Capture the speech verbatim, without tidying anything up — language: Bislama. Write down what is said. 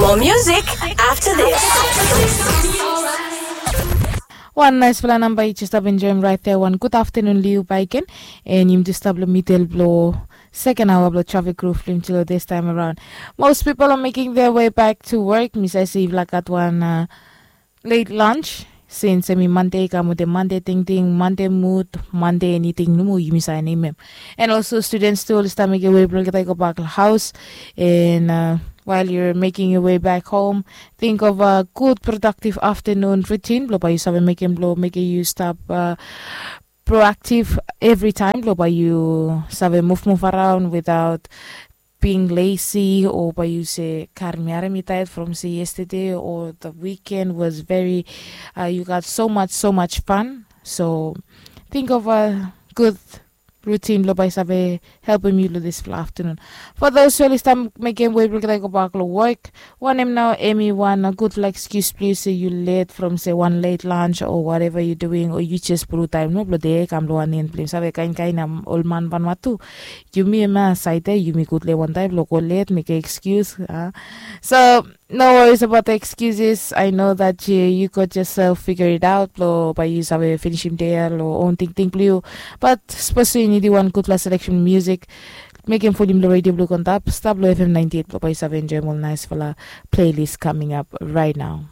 More music after this. Wan naisfala namba yu jes stap enjoim rait ya, wan gud aftanun long yu baik gen. And yumi jes stap long midel blong seken aoa blong trafik ruf blong yumi tilo distaem araon. Most pipol are making their way back to work. Mi save se yufala gat wan uh, late lunch since em i Monday, kam wetem Monday tingting, Monday mud, Monday eniting nomo yumi save nemem. And also students tu oli stap mekem wei blong olgeta i gobak long haos. And uh, while you're making your way back home, think of a good productive afternoon routine blong bae yu save mekem blong mekem yu stap uh, proactive every time blong bae yu save move move around without being lazy, o bae yu se karem mi harem mi tired from se yesterday or the weekend was very uh, you got so much so much fun. So think of a good routine blong bae save helpem yu long dispela afternoon. For those who oli stap mekem wei blong olgeta i gobak long work, wanem nao em i wan uh, gudfala excuse blong yu se yu late from se wan late lunch or whatever you doing, or yu jes puru taem nomo blong dei kam long wan en blong yu save kain kain am ol man banma tu. Yumi em a saite yumi gud long wantaem blong go let mekem excuse uh. So no worries about the excuses. I know that you, you got yourself figure it out blong bae yu save finishim dei ya long own tingting blong yu. But sapos yu nidim wan gudfala selection music, mekem volim long radio blong yu go antap stap long F M ninety eight blong bae yu save enjoim ol naisfala playlist coming up right now.